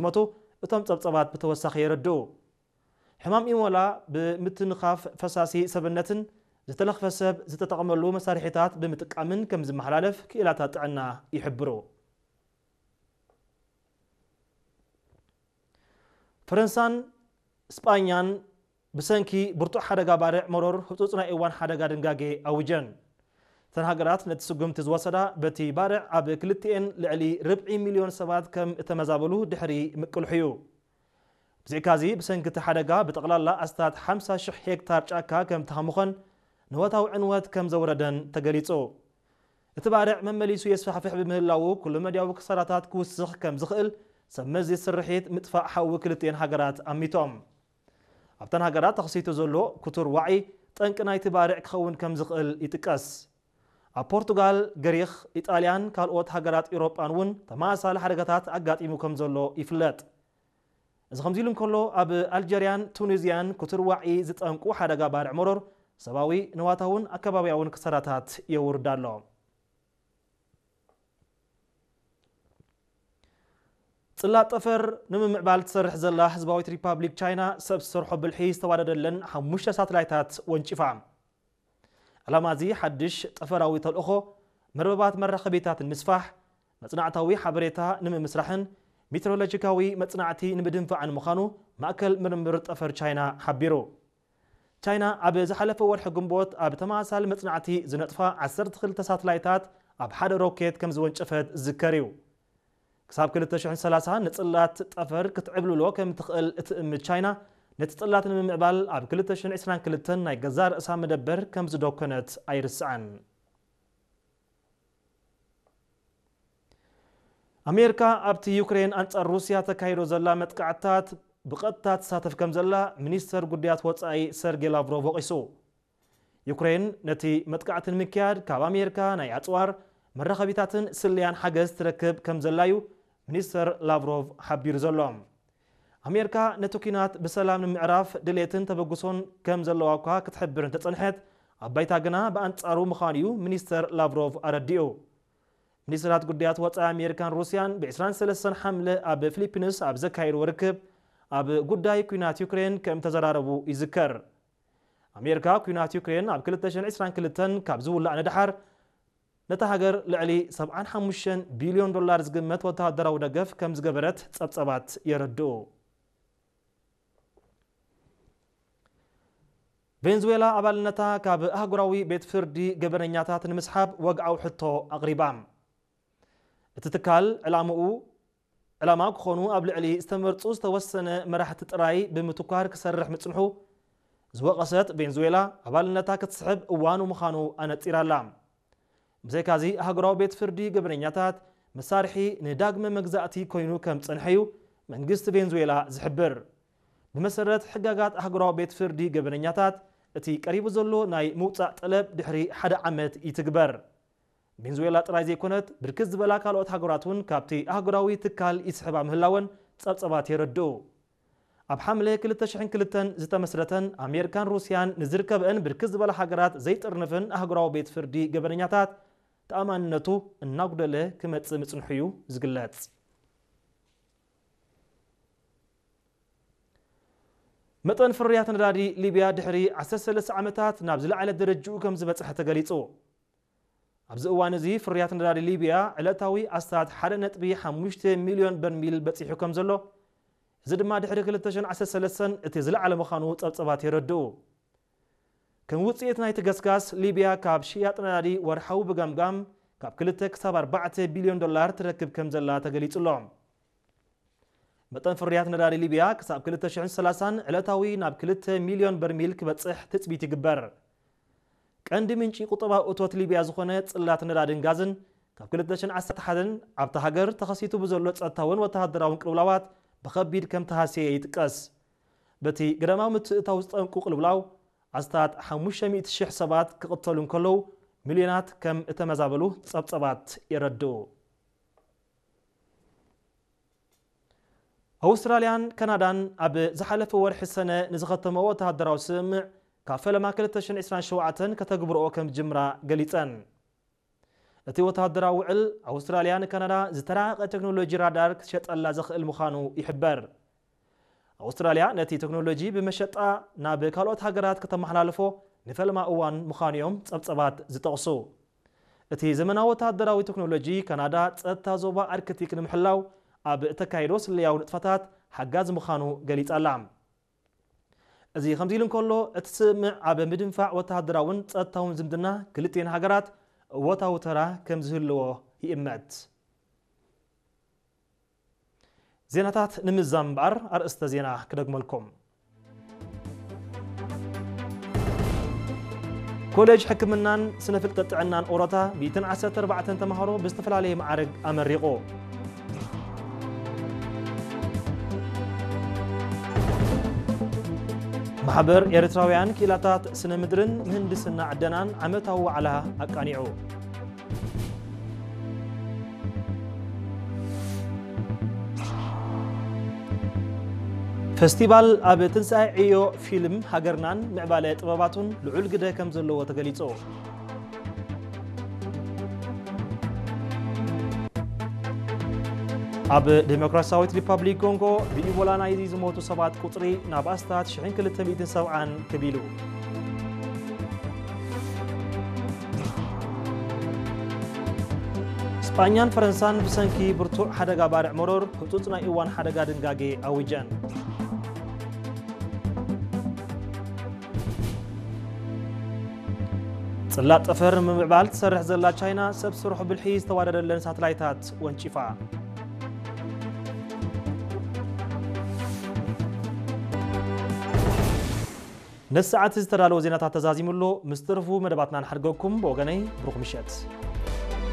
ዝሞቱ እቶም ጸብጸባት ብተወሳኺ የረድኡ። ሕማም ኢቦላ ብምትንኻፍ ፈሳሲ ሰብነትን ዝተለኽፈ ሰብ ዝተጠቐመሉ መሳርሒታት ብምጥቃምን ከም ዝመሓላለፍ ክኢላታት ጥዕና ይሕብሩ። ፈረንሳን ስጳኛን ብሰንኪ ብርቱዕ ሓደጋ ባርዕ መሮር ህጹጽ ናይ እዋን ሓደጋ ድንጋጌ ኣውጀን። እተን ሃገራት ነቲ ስጉምቲ ዝወሰዳ በቲ ባርዕ ኣብ ክልቲኤን ልዕሊ ርብዒ ሚልዮን ሰባት ከም እተመዛበሉ ድሕሪ ምቅልሑ እዩ። ብዘይካዚ ብሰንኪ እቲ ሓደጋ ብጠቕላላ ኣስታት ሓምሳ ሽሕ ሄክታር ጫካ ከም ተሃሙኸን ንወታዊ ዕንወት ከም ዘውረደን ተገሊጹ። እቲ ባርዕ መመሊሱ የስፋሕፍሕ ብምህላዉ ኩሉ መድያዊ ክሳራታት ክውስኽ ከም ዝኽእል ሰብ መዚ ስርሒት ምጥፋእ ሓዊ ክልቲኤን ሃገራት ኣሚቶም። ኣብተን ሃገራት ተኸሲቱ ዘሎ ክቱር ዋዒ ጠንቂ ናይቲ ባርዕ ክኸውን ከም ዝኽእል ይጥቀስ። ኣብ ፖርቱጋል፣ ግሪኽ፣ ኢጣልያን ካልኦት ሃገራት ኤውሮጳን እውን ተመሳሳሊ ሓደጋታት ኣጋጢሙ ከም ዘሎ ይፍለጥ። እዚ ከምዚ ኢሉ እንከሎ ኣብ ኣልጀርያን ቱኒዝያን ክቱር ዋዒ ዝጠንቁ ሓደጋ ባርዕ መሮር ሰብኣዊ ንዋታውን ኣከባብያውን ክሳራታት የውርድ ኣሎ። ጽላት ጠፈር ንምምዕባል ትሰርሕ ዘላ ህዝባዊት ሪፓብሊክ ቻይና ሰብ ዝሰርሖ ብልሒ ዝተዋደደለን ሓሙሽተ ሳተላይታት ወንጪፋ። ዕላማ እዚ ሓድሽ ጠፈራዊ ተልእኾ መርበባት መራኸቢታት ንምስፋሕ፣ መጽናዕታዊ ሓበሬታ ንምምስራሕን ሜትሮሎጂካዊ መጽናዕቲ ንምድንፋዕን ምዃኑ ማእከል ምርምር ጠፈር ቻይና ሓቢሩ። ቻይና ኣብ ዝሓለፈ ወርሒ ግንቦት ኣብ ተመሳሳሊ መጽናዕቲ ዝነጥፋ ዓሰርተ ክልተ ሳተላይታት ኣብ ሓደ ሮኬት ከም ዝወንጨፈት ዝዝከር እዩ። ክሳብ ክልተ ሽሕን ሰላሳን ንጽላት ጠፈር ክትዕብልሎ ከም ትኽእል እትእምት ቻይና፣ ነቲ ጽላት ንምምዕባል ኣብ ክልተ ሽሕን ዕስራን ክልተን ናይ ገዛእ ርእሳ መደበር ከም ዝደኮነት ኣይርስዕን። ኣሜሪካ ኣብቲ ዩክሬን ኣንጻር ሩስያ ተካይዶ ዘላ መጥቃዕትታት ብቐጥታ ትሳተፍ ከም ዘላ ሚኒስተር ጉዳያት ወጻኢ ሰርጌ ላቭሮቭ ወቒሱ። ዩክሬን ነቲ መጥቃዕቲ ንምክያድ ካብ ኣሜሪካ ናይ ኣጽዋር፣ መራኸቢታትን ስለያን ሓገዝ ትረክብ ከም ዘላ እዩ ሚኒስተር ላቭሮቭ ሓቢሩ ዘሎ። ኣሜሪካ ነቲ ኲናት ብሰላም ንምዕራፍ ድሌትን ተበግሶን ከም ዘለዋ እኳ ክትሕብር እንተጸንሐት፣ ኣብ ባይታ ግና ብኣንጻሩ ምዃኑ እዩ ሚኒስተር ላቭሮቭ ኣረዲኡ። ሚኒስትራት ጉዳያት ወጻኢ ኣሜሪካን ሩስያን ብ ዕስራን ሰለስተን ሓምለ ኣብ ፊሊፒንስ ኣብ ዘካየድዎ ርክብ ኣብ ጉዳይ ኲናት ዩክሬን ከም ተዘራረቡ ይዝከር። ኣሜሪካ ኲናት ዩክሬን ኣብ ክልተ ሽሕን ዕስራን ክልተን ካብ ዝውላዕ ንደሓር ነታ ሃገር ልዕሊ ሰብዓን ሓሙሽተን ቢልዮን ዶላር ዝግመት ወተሃደራዊ ደገፍ ከም ዝገበረት ጸብጸባት የረድኡ። ቬንዙዌላ ኣባልነታ ካብ ኣህጉራዊ ቤት ፍርዲ ገበነኛታት ንምስሓብ ወግዓዊ ሕቶ ኣቕሪባ። እቲ ትካል ዕላምኡ ዕላማ ክኾኑ ኣብ ልዕሊ ዝተመርጹ ዝተወሰነ መራሕቲ ጥራይ ብምትኳር ክሰርሕ ምጽንሑ ዝወቐሰት ቬንዙዌላ፣ ኣባልነታ ክትስሕብ እዋኑ ምዃኑ ኣነጺራ'ላ። ብዘይካዚ ኣህጉራዊ ቤት ፍርዲ ገበነኛታት መሳርሒ ንዳግመ መግዛእቲ ኮይኑ ከም ዝጸንሐ እዩ መንግስቲ ቬንዙዌላ ዝሕብር። ብመሰረት ሕጋጋት ኣህጉራዊ ቤት ፍርዲ ገበነኛታት፣ እቲ ቀሪቡ ዘሎ ናይ ምውጻእ ጠለብ ድሕሪ ሓደ ዓመት ይትግበር። ቬንዙዌላ ጥራይ ዘይኮነት፣ ብርክት ዝበላ ካልኦት ሃገራት እውን ካብቲ ኣህጉራዊ ትካል ይስሕባ ምህላወን ጸብጸባት የረድኡ። ኣብ ሓምለ ክልተ ሽሕን ክልተን ዝተመስረተን ኣሜሪካን ሩስያን ንዝርከበአን ብርክት ዝበላ ሃገራት ዘይጥርንፍን ኣህጉራዊ ቤት ፍርዲ ገበነኛታት ተኣማንነቱ እናጉደለ ክመጽእ ምጽንሑ እዩ ዝግለጽ። መጠን ፍርያት ነዳዲ ሊብያ ድሕሪ ዓሰርተ ሰለስተ ዓመታት ናብ ዝለዓለ ደረጅኡ ከም ዝበጽሐ ተገሊጹ። ኣብዚ እዋን እዚ ፍርያት ነዳዲ ሊብያ ዕለታዊ ኣስታት ሓደ ነጥቢ ሓሙሽተ ሚልዮን በርሚል በጺሑ ከም ዘሎ፣ እዚ ድማ ድሕሪ ክልተ ሽሕን ዓሰርተ ሰለስተን እቲ ዝለዓለ ምዃኑ ጸብጸባት የረድኡ። ከም ውጽኢት ናይቲ ገስጋስ፣ ሊብያ ካብ ሽያጥ ነዳዲ ወርሓዊ ብገምጋም ካብ ክልተ ክሳብ ኣርባዕተ ቢልዮን ዶላር ትረክብ ከም ዘላ ተገሊጹ ኣሎ። መጠን ፍርያት ነዳዲ ሊብያ ክሳብ ክልተ ሽሕን ሰላሳን ዕለታዊ ናብ ክልተ ሚልዮን በርሚል ክበጽሕ ትጽቢት ይግበር። ቀንዲ ምንጪ ቁጠባዊ እቶት ሊብያ ዝኾነ ጽላት ነዳድን ጋዝን ካብ ክልተ ሽሕን ዓሰርተ ሓደን ኣብታ ሃገር ተኸሲቱ ብዘሎ ጸጥታውን ወተሃደራውን ቅልውላዋት ብኸቢድ ከም ተሃስየ ይጥቀስ። በቲ ገዳማዊ ምትእታው ዝጠንቁ ቅልውላው ኣስታት ሓሙሽተ ሚእቲ ሽሕ ሰባት ክቕተሉ እንከለዉ፣ ሚልዮናት ከም እተመዛበሉ ጸብጸባት የረድኡ። ኣውስትራልያን ካናዳን ኣብ ዝሓለፈ ወርሒ ሰነ ንዝኸተመ ወተሃደራዊ ስምምዕ ካብ ፈለማ ክልተ ሽሕን ዕስራን ሸውዓተን ከተግብርኦ ከም ዝጅምራ ገሊጸን። እቲ ወተሃደራዊ ውዕል ኣውስትራልያ ንካናዳ ዝተራቐቐ ቴክኖሎጂ ራዳር ክትሸጠላ ዘኽእል ምዃኑ ይሕበር። ኣውስትራልያ ነቲ ቴክኖሎጂ ብመሸጣ ናብ ካልኦት ሃገራት ከተመሓላልፎ ንፈልማ እዋን ምዃኑ እዮም ጸብጸባት ዝጠቕሱ። እቲ ዘመናዊ ወተሃደራዊ ቴክኖሎጂ ካናዳ ጸጥታ ዞባ ኣርክቲክ ንምሕላው ኣብ እተካይዶ ስለያዊ ንጥፈታት ሓጋዚ ምዃኑ ገሊጻ ኣላ። እዚ ከምዚ ኢሉ እንከሎ፣ እቲ ስምምዕ ኣብ ምድንፋዕ ወተሃደራውን ጸጥታውን ዝምድና ክልቲኤን ሃገራት እወታዊ ተራ ከም ዝህልዎ ይእመት። ዜናታት ንምዛም እምበኣር ኣርእስተ ዜና ክደግመልኩም። ኮሌጅ ሕክምናን ስነ ፍልጠት ጥዕናን ኦሮታ ሚእትን ዓሰርተ ኣርባዕተን ተምሃሮ ብዝተፈላለየ ማዕረግ ኣመሪቑ። ማሕበር ኤርትራውያን ክኢላታት ስነ ምድርን ምህንድስና ዕደናን ዓመታዊ ዋዕላ ኣቃኒዑ። ፈስቲቫል ኣብ ትንሳኤ ዕዮ ፊልም ሃገርናን ምዕባለ ጥበባቱን ልዑል ግደ ከም ዘለዎ ተገሊጹ። ኣብ ዴሞክራሲያዊት ሪፓብሊክ ኮንጎ ብኢቦላ ናይዚ ዝሞቱ ሰባት ቁጽሪ ናብ ኣስታት ሽሕን ክልተ ሚእትን ሰብዓን ክብ ኢሉ። ስጳኛን ፈረንሳን ብሰንኪ ብርቱዕ ሓደጋ ባርዕ መሮር ህጹጽ ናይ እዋን ሓደጋ ድንጋጌ ኣዊጀን። ጽላት ጠፈር ንምምዕባል ትሰርሕ ዘላ ቻይና ሰብ ስርሑ ብልሒ ዝተዋደደለን ሳተላይታት ወንጪፋ። ነዚ ሰዓት ዝተዳለወ ዜናታት ተዛዚሙ ኣሎ። ምስ ተረፉ መደባትና ንሓድገኩም። ብወገነይ ብሩኽ ምሸት።